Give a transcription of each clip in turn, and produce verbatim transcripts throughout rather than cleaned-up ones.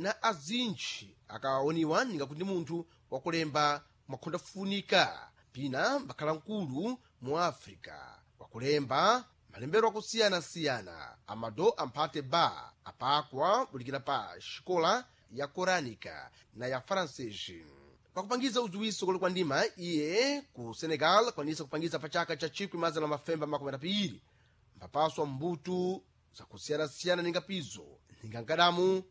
Na azinji akaoniwa ninga kuti munthu wakulemba mwakhondafunika pina mbakhala mkulu mu Africa wakulemba malembero akusiyana-siyana. Amado Amphate Ba apakwa bulikira pa xikola ya Coranica na ya Francês. Pakupangiza udziwiso kuli kwa ndima iye ku Senegal akwanisa kupangiza pa chaka cha chikwi mazana mafemba makumi atatu mpapaswa mbutu zakusiyana-siyana ninga pizo ninga nkadamu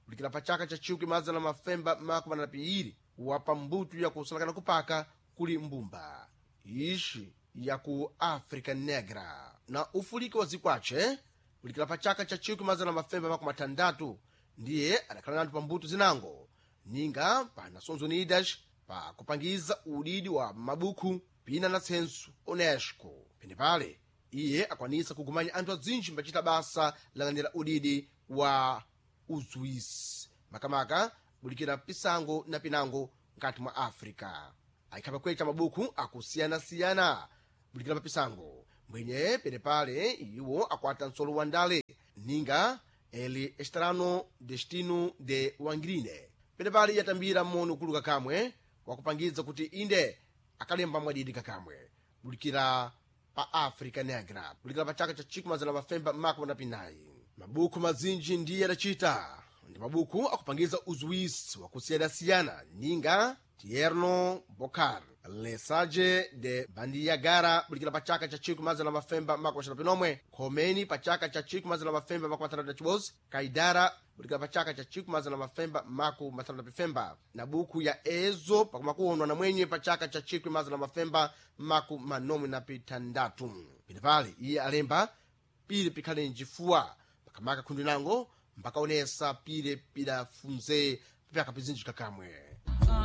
kulikira pa chaka cha chikwi mazana mafemba makumi atatu wapa mbutu ya kusalakana kupaka kuli mbumba ixi ya ku Africa Negra na ufuliki wa zikwace kulikira pa chaka cha chikwi mazana mafemba makumi atandatu ndiye adakhala nanthu pa mbuto zinango ninga pa Nações Unidas pa kupangiza udidi wa mabukhu pina na tsenso UNESCO. Penepale iye akwanisa kugumanya anthu azinji mbacita basa lang'anira udidi wa uzuwisi makamaka bulikira pisango na pinango nkati mwa Africa. Ayikhapa kwecha mabukhu akusiyanasiyana bulikira pa pisango mbwenye penepale iwo akwata nsolo wa ndale ninga El Estrano Destino de Wangrine. Penepale yatambira mono kuluka kamwe wakupangiza kuti inde akalemba mwadidi kakamwe bulikira pa Africa Negra bulikira pa chaka cha chikumi mazana mafemba makumi na mabukhu mazinji ndiye adacita ndi mabukhu akupangiza uzuwisi wakusiyanasiyana ninga Tierno Bokar Lesage de Bandiagara bulikira pa chaka cha chikumi mazana mafemba makumi axanu pinomwe, Khomeni pa chaka cha chikumi mazana mafemba makumi atandatu na chibodzi, Kaidara bulikira pa chaka cha chikumi mazana mafemba makumi matandatu na pifemba na buku ya Ezo pakumakuonwa na mwenye pa chaka cha chikumi mazana mafemba makumi manomwe na pitandatu. Penepale iye alemba pile pikhale njifuwa pakamaka khundu nango mpakaonesa pile pidafunze pyaka pizinji kakamwe.